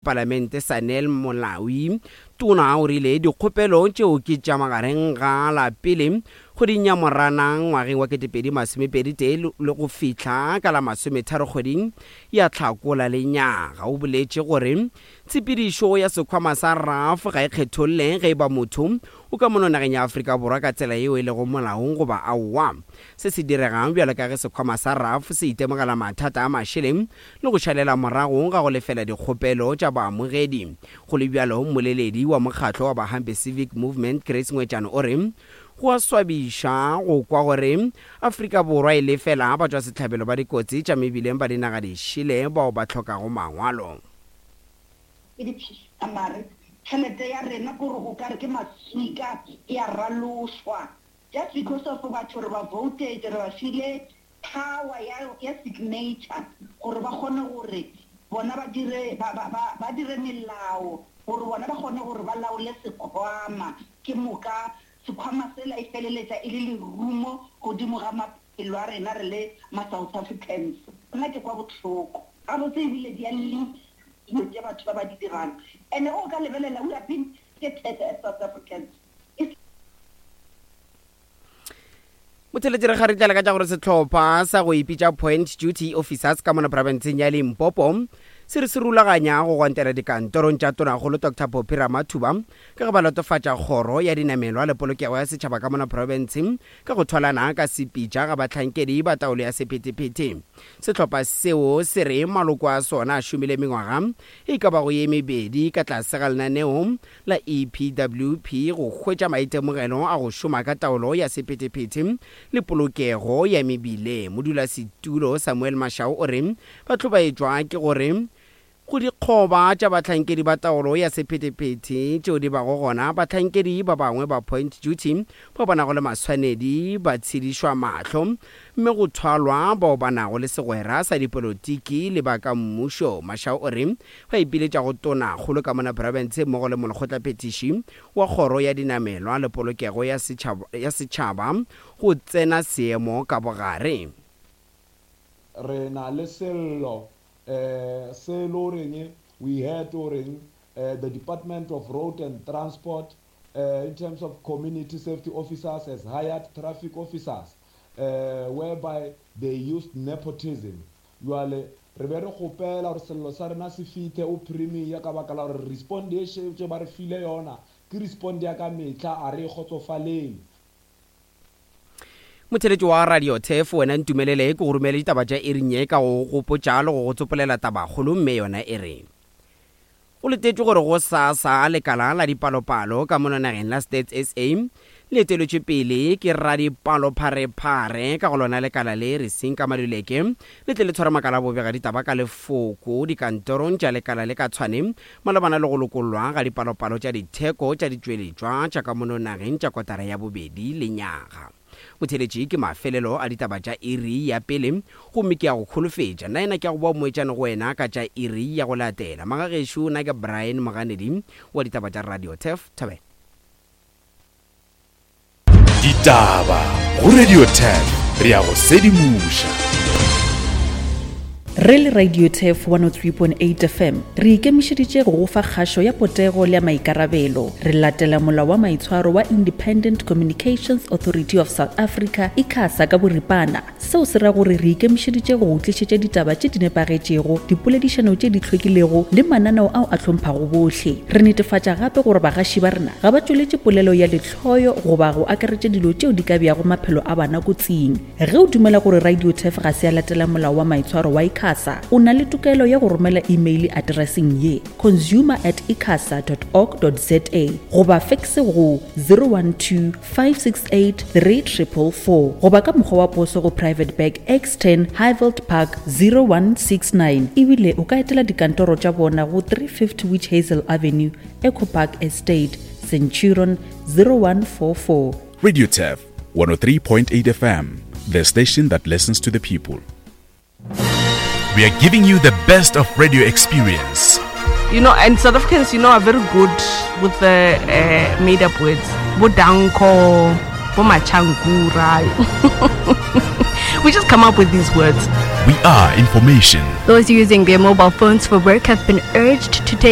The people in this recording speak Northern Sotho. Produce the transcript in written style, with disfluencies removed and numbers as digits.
Palamente Sanel Molawi Tona o rile dikgopelo tšeo ke tša magareng ga la pele kgweding ya Moranang ngwageng wa 2021 le go fihla ka la masometharo kgweding ya Hlakola lenyaga. O boletše gore tshepedišo ya sekhwama sa RAF ga e kgetholle ge e ba motho o ka mono nageng ya Afrika Borwa ka tsela yeo e lego molaong goba aowa. Se se diregang bjalo ka ge sekhwama sa RAF se itemogela mathata a mašeleng le go šalela morago ga go lefela dikgopelo tša baamogedi. Go le bjalo, mmoleledi wa mokgatlo wa Bahambe Civic Movement, Grace Ngwetšane o re, Go a swabiša go kwa gore Afrika Borwa e lefela batšwasehlabelo ba dikotsi tša mebileng ba dinaga dišele bao ba hlokago mangwalo. Ke diphiša mare tšhelete ya rena kore o kare ke maswika e a ralošwa just because of batho re ba voted re ba file power ya, ya signature gore ba kgone gore bona ba dire, ba, ba, ba, ba dire melao gore bona ba kgone gore ba laole sekhwama. Ke moka sekhwama sela e feleletša e le lerumo godimo ga maphelo a rena re le ma-South Africans. Nna ke kwa bohloko. Gabotse ebile di a lliša dilo tše batho ba ba di dirang. And-e ge o ka lebelela we are being targeted as South Africans. E. Motheletši re kgaritlela ka tša gore sehlopha sa go ipitša Point Duty Officers ka mona profenseng ya Limpopo se re se rulaganya go gwantela dikantorong tša Tonakgolo Doctor Phophi Ramathuba ka ge ba latofatša kgoro ya dinamelwa le polokego ya setšhaba ka mona profenseng ka go thwalana ka sepitša ga bahlankedi ba taolo ya sephethephethe. Sehlopha seo se re maloko a sona a šomile mengwaga e ka bago ye mebedi ka tlase ga lenaneo la EPWP go hwetša maitemogelo a go šoma ka taolo ya sephethephethe le polokego ya mebileng. Modulasetulo Samuel Mashau o re ba hlobaetšwa ke gore go dikgoba tša bahlankedi ba taolo ya sephethephethe tšeo di bago gona, bahlankedi ba bangwe ba point duty bao ba nago le maswanedi ba tshedišwa mahlo mme go thwalwa bao ba nago le segwera sa dipolotiki le ba ka mmušo. Mashau o re Ba ipiletša go Tonakgolo ka mona profense mmogo le Molekgotlaphethiši wa Kgoro ya Dinamelwa le Polokego ya ya Setšhaba go tsena seemo ka bogare. Re na le sello se e le goreng we heard goreng the Department of Road and Transport in terms of community safety officers has hired traffic officers whereby they used nepotism. Bjale, re be re kgopela gore sello sa rena se fithe o Premier ka baka la gore respond ye šetše ba re file yona ke respond ya ka mehla, a re e kgotsofalele. Motheeletši wa Radio Turf, wena ntumelele ke go romele ditaba tša iring ye ka go go gopotša le go go tsopolela tabakgolo mme yona e re. Go letetšwe gore gosasa lekala la dipalopalo ka mono nageng la Stats SA le eteletšwe pele ke radipalopharephare ka go lona lekala le Risinka Maluleke le tle le tshware makala a bobegaditaba ka lefoko dikantorong tša lekala le ka Tshwane malebana le go lokollwa ga dipalopalo tša ditheko tša ditšweletšwa tša ka mono nageng tša kotara ya bobedi lenyaga. Botheeletši ke mafelelo a ditaba tša iri ya pele, gomme ke a go kholofetša, nnaena ke a go boa moetšane go wena ka tša iri ya go latela. Magagešo, nna ke Brian Moganedi wa ditaba tša Radio Turf. Thobela. Ditaba go Radio Turf, re a go sedimoša. Re le Radio Turf 103.8 FM, re ikemišeditše go go fa kgašo ya potego le ya maikarabelo. Re latela molao wa maitshwaro wa Independent Communications Authority of South Africa, ICASA, ka boripana. Seo se ra gore re ikemišeditše go go tlišetša ditaba tše di nepagetšego, dipoledišano tše di hlwekilego le mananeo ao a hlomphago bohle. Re netefatša gape gore bagaši ba rena ga ba tšweletše polelo ya lehloyo goba go akaretša dilo tšeo di ka beago maphelo a bana kotsing. Ge o dumela gore Radio Turf ga se ya latela molao wa maitshwaro wa ICASA, o na le tokelo ya go romela imeile atereseng ye, consumer at icasa dot org dot za goba fekse go 012 568 3444 goba ka mokgwa wa poso go Private Bag X10 Highveld Park 0169. Ebile o ka etela dikantoro tša bona go 350 Witch Hazel Avenue, Echo Park Estate, Centurion 0144. Radio Turf 103.8 FM, the station that listens to the people. We are giving you the best of radio experience. You know, and South Africans, you know, are very good with the uh, made up words. Bo danko, bo machankura. We just come up with these words. We are information. Those using their mobile phones for work have been urged to take